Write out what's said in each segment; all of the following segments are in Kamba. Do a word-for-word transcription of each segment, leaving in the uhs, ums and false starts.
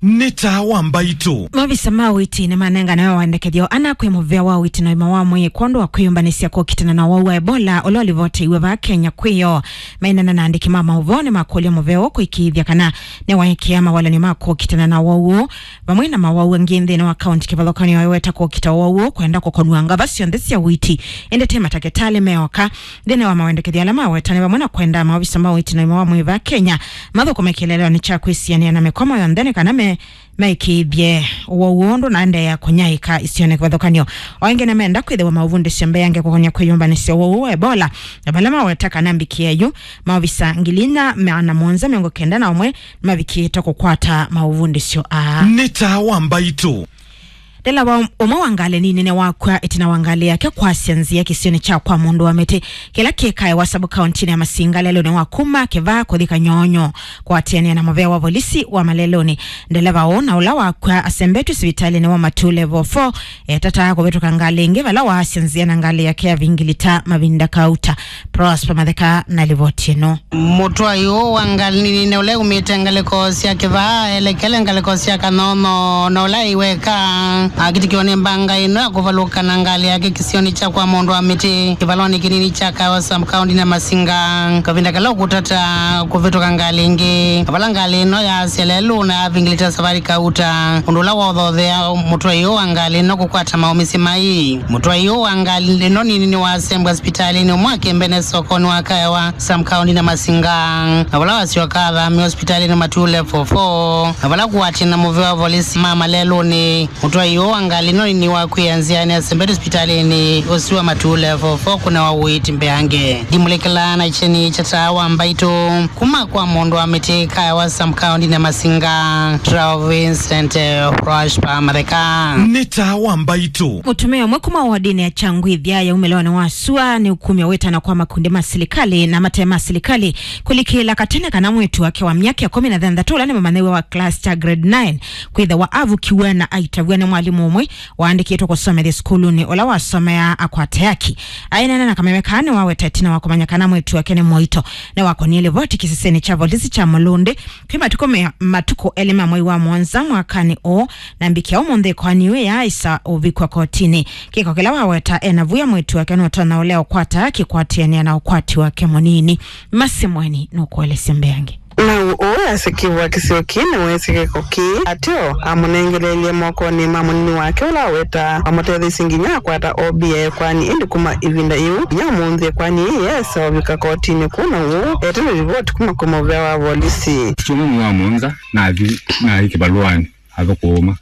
Nĩ taa wa mbaitũ. Maovisa ma ũiiti nĩmanengane wendekethyo ana kwĩ mũvĩa wa ũiiti na ũima wa mwĩĩ kwondũ wa kwĩyũmbanĩsya kũkitana na ũwau wa Ebola ũla ũlivoteiwe vaa Kenya kwĩyo. Maineena na andĩki ma maũvoo nĩmakũlya mũvĩa ũũ kũĩkĩĩthya kana nĩwaekea mawalany'o ma kũkitana na ũwau ũũ, vamwe na mawau angĩ nthĩnĩ wa kaunti kĩvathũkany'o aiweta kũkita ũwau ũũ kwenda kũkonw'a ngava syonthe sya ũiiti, ĩndĩ ti matakĩtalĩ meoka. Nthĩnĩ wa mawendekethyo ala maweta nĩ vamwe na kwenda maovisa ma ũiiti na ũima wa mwĩĩ vaa Kenya mathũkũme kĩeleelonĩ kya kwĩsianĩa na mĩkwamo yonthe nĩ kana me maĩkĩĩthye ũwau ũũ ndũnaendeea kũnyaĩĩka isionĩ kĩvathũkany'o. O ĩngĩ nĩmenda kwĩthĩwa maũvundĩsyo mbeange kũkony'a kwĩyũmbanĩsya ũwau ũũ wa Ebola, na vala maweta kana mbikĩa yu maovisa ngili inya maana mũonza mĩongo kenda na ũmwe nĩmavikĩĩte kũkwata maũvundĩsyo aa. Nĩ taa wa mbaitũ. Ndeleva ũmwe wa ngalĩ nini nĩwakw'a ĩtina wa ngalĩ yake kwasya nzĩa kĩsionĩ kya kwa mũndũ wa mĩtĩ kĩla kĩkaewa sub-kauntinĩ ya Masinga lelũnĩ wa kuma Kĩvaa kũthi Kanyonyo. Kũatĩanĩa na mũvĩa wa volisi wa malelũnĩ, ndeleva ũũ na ũla wakw'a asembetw'e sivitalĩnĩ wa Matuu Level four etataa kũvĩtũka ngalĩ ĩngĩ vala waasya nzĩa na ngalĩ yake yavingilita mavinda kauta. Prosper Matheka na livoti ĩno. Mũtwai ũũ wa ngalĩ nini ũla umĩte ngalĩko sya Kĩvaa elekele ngalĩko sya Kanyonyo na ũla aiweka akitikiwa nĩ mbanga ĩno ya kũvalũka na ngalĩ yake kĩsionĩ kya kwa mũndũ wa mĩtĩ kĩvalonĩ kĩnini kya Kawa sub-county na Masinga. Kavinda kala ũkũtata kũvĩtũka ngalĩ ĩngĩ, vala ngalĩ ĩno yaasya lelũ na yavingilita savarĩ kauta, ũndũ ũla wothothea mũtwai ũũ wa ngalĩ ĩno kũkwata maũmĩsye mai. Mũtwai ũũ wa ngalĩ ĩno nini nĩwasembwa sipitalĩnĩ ũmwe akĩmbene sokonĩ wa Kaewa sub-county na Masinga, na vala wasyoka athamĩwa sipitalĩnĩ Matuu Level four, na vala kũatĩana na mũvĩa wa volisi ma malelũnĩ. Mũtwai ũũ wa ngalĩ ĩno nini wakw'ĩĩa nzĩanĩ asembetw'e sipitalĩnĩ ũsu wa Matuu Level four kũnewa ũiiti mbeange. Ndimũlĩkĩlaa na kyeni kya taa wa mbaitũ kuma kwa mũndũ wa mĩtĩ Kaewa sub-county na Masinga, Trao Vincent, eh, Prosper Matheka. Nĩ taa wa mbaitũ. Mũtumĩa ũmwe kuma wodinĩ ya Kyangwithya ya umĩlonĩ wa sua nĩ ũkumya wĩtana kwa makundi ma silikalĩ na mate ma silikalĩ kũlikĩla katene kana mwĩĩtu wake wa myaka ĩkũmi na thanthatũ ũla nĩ mũmanyĩw'a wa class kya grade nine kwĩthĩwa avukiw'e na aitavw'a nĩ mwalimũ ũmwe waandĩkĩtwe kũsomethya sukulunĩ ũla wasomeaa akwate aki. Aineena na kameme kaa nĩwaweta ĩtina wa kũmanya kana mwĩĩtu wake nĩ mũito. Nĩwakonie livoti kĩsisenĩ kya volisi kya Mũlũndĩ kwĩ matukũ me-, matukũ elĩ ma mwei wa mũonza mwakanĩ ũũ, na mbikĩa ũmũnthĩ ĩkoani ĩyo yaaĩsa ũvikwa kotinĩ. Kĩko kĩla waweta ena vuya mwĩĩtu wake nũtonya ũlea ũkwata aki kũatĩanĩa na ũkwati wake mũnini. Masi Mweni nũkũelesya mbeange. Nau ũũ asĩkĩvwa kĩseo kĩĩ nĩweesĩ kĩko kĩĩ, ateo amũnengeleelye mokonĩ ma mũnini wake ũla aweta amũtetheisye nginya akwata O B ya ĩkoani, ĩndĩ kuma ĩvinda yĩu nginya ũmũnthĩ ĩkoani ĩĩ yaesa ũvika kotinĩ kũu, na ũũ ete na livoti kuma kwĩ mũvĩa wa volisi. Kyumwa mwei wa mũonza nathi, nathi kĩvalũanĩ athũkũma.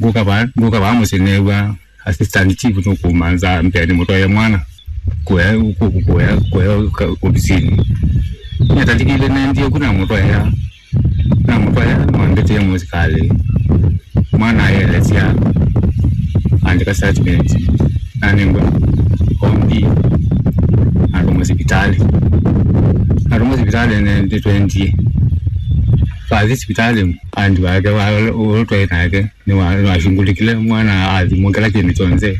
Ngũka vaa, ngũka vaa mũsyĩ neew'a assistant chief nũkũmanza mbee nĩmũtwaĩe mwana kũya, kũ-, kũya, kũya ka-, ovisinĩ. Nĩtalikile nendie ku namũtwaĩa, namũtwaĩa nĩwambĩtĩe mũsikalĩ. Mwana aelesya, andĩka statement, nanengwa O B, natũmwa sipitalĩ. Natũmwa sipitalĩ nĩtwendie. Twathi sipitalĩ, andi wake wa, ũla twaĩ nake nĩwa-, nĩwashungulikile mwana athimwa kĩla kĩndũ kyonthe.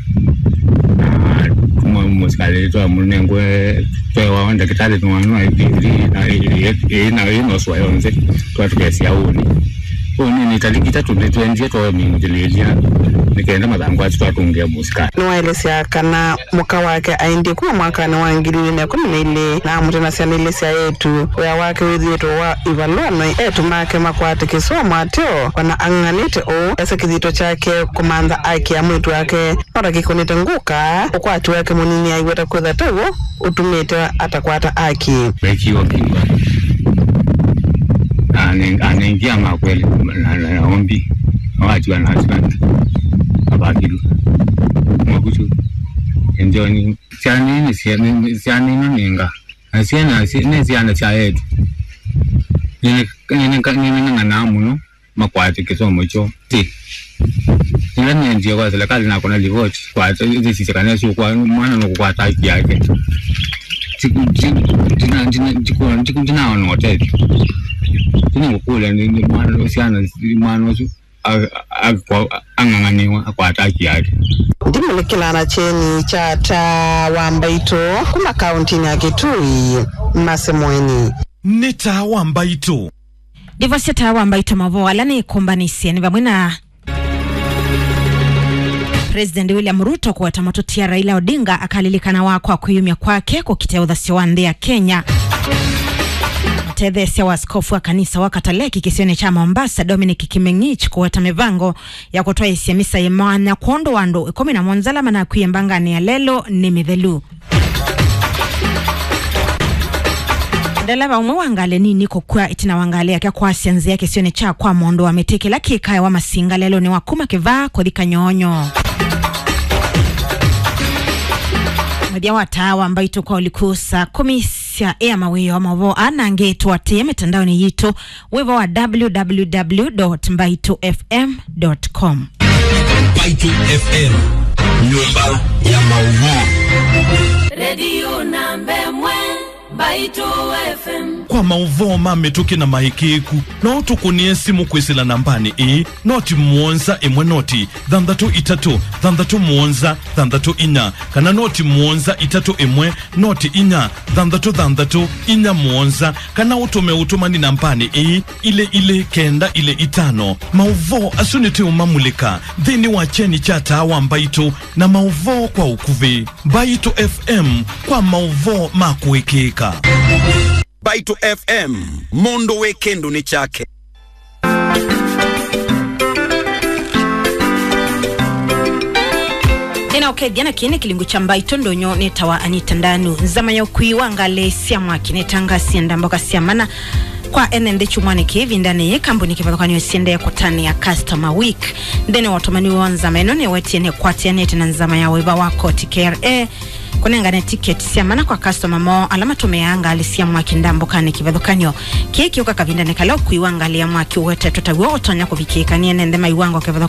Na tuma mũsikalĩ twamũnengwe twewa ndakĩtalĩ nĩwanwa ĩĩ na ĩĩ na ĩĩ noswa yonthe twatũkesya ũnĩ. Ũnĩ nĩ taliki itatũ nĩtwendie twamingĩlĩĩlya nĩkenda mathangũ asu twatũngĩa mũsikalĩ. Nĩwaelesya kana mũka wake aendie kuma mwakanĩ wa ngili ilĩ na ĩkũmi na ilĩ na amũte na syana ilĩ sya eĩtu. Wĩa wake wĩthĩĩtwe wa ivalũa na eĩtu make makwate kĩsomo ateo, ona ang'ang'anĩte ũu, esa kĩthito kyake kũmantha aki ya mwĩĩtu wake. No ta kĩkũnĩte ngũka, ũkwati wake mũnini aiweta kwĩtha ta w'o ũtumĩte atakwata aki. Mekiwa kiwa. Ane-, anengia makweli na, na, na ombi. Awatiwa na husband. Abakilwe. Mwakuchu. Enjoni. Syana nĩ syana, syana ino nĩ nga. Na syana, sy-, nĩ syana sya etu. Nĩneng'anaa mũno makwate kĩsomo kyoo. Ti. Nĩla nĩendie kwa serikali nakona livoti, kwata, ĩsisya kana syũkwa, mwana nũkũkwata haki yake. Ti-, ti-, ndina-, ndina-, ndikuona, ndiku-, ndinaona ũtethyo. Nĩngũkũlya nĩ, nĩ mwana, syana, mwana ũsu a-, a-, akwa-, ang'ang'anĩwa akwata haki yake. Ndimũlĩkĩlaa na kyeni kya taa wa mbaitũ kuma kauntinĩ ya Kitui, Mase Mweni. Nĩ taa wa mbaitũ. Ivasya ta wa Mbaitũ, maũvoo ala nĩkũmbanĩsye nĩ vamwe na President William Ruto kũweta mũtũtia Raila Odinga akalilikanawa kwa kwĩyumya kwake kũkitĩa ũthasyo wa nthĩ ya Kenya. Mũtetheesya wa askofu wa kanisa wa Kataleki kĩsionĩ kya Mombasa, Dominic Kimeng'ich, kũweta mĩvango ya kũtwaĩĩsya misa yĩ mwanya kwondũ wa andũ ĩkũmi na mũonza ala manakwie mbanganĩ ya lelũ nĩ mĩthelu. Ndeleva ũmwe wa ngalĩ nini kũkw'a ĩtina wa ngalĩ yake kwasya nzĩa kĩsionĩ kya kwa mũndũ wa mĩtĩ kĩla kĩkaewa Masinga lelũnĩ wa kuma Kĩvaa kũthi Kanyonyo. Mũthya wa taa wa Mbaitũ kwa ũliku saa kũmi sya ĩa mawĩoo. Maũvoo aa na angĩ tũatĩĩe mĩtandaonĩ yitũ. Wĩva wa www.mbaitufm.com. Mbaitũ F M, nyũmba ya maũvoo. Redio namba ĩmwe, Mbaitũ F M. Kwa maũvoo ma mĩtũkĩ na maĩkĩĩku, no ũtũkũnĩe simũ kwĩsĩla nambanĩ ĩĩ, noti mũonza ĩmwe noti thanthatũ itatũ thanthatũ mũonza thanthatũ inya, kana noti mũonza itatũ ĩmwe noti inya thanthatũ thanthatũ inya mũonza, kana ũtũme ũtũmani nambanĩ ĩĩ, ilĩ ilĩ kenda ilĩ itano. Maũvoo asu nĩtũũmamulĩka nthĩnĩ wa kyeni kya Taa wa Mbaitũ na maũvoo kwa ũkuvĩ. Mbaitũ F M kwa maũvoo ma kũĩkĩĩka. Mbaitũ F M, mũndũ wĩ kĩndũnĩ kyake. Nĩnaũkethya na kĩĩ nĩ kĩlungu kya Mbaitũ ndũnyũ nĩtawa Anita Ndanu. Nzama ya ũkui wa ngalĩ sya mwaki nĩtangasie ndambũka sya mana kwa ene nthĩ kyumwanĩ kĩĩ. Ĩvindanĩ yĩĩ kambuni kĩvathũkany'o siendee kũtanĩa Customer Week. Nthĩnĩ wa ũtũmani wa nzama ĩno nĩwetie nĩkwatĩanĩte na nzama ya wĩva wa koti K R A kũnengane tiketi sya mana kwa customer moo ala matũmĩaa ngalĩ sya mwaki ndambũkanĩ kĩvathũkany'o. Kĩĩ kĩũka kavindanĩ kala ũkui wa ngalĩ ya mwaki ũwetetwe taw'o ũtonya kũvikĩĩka nĩ ene nthĩ ma iwango kĩvathũkany'o.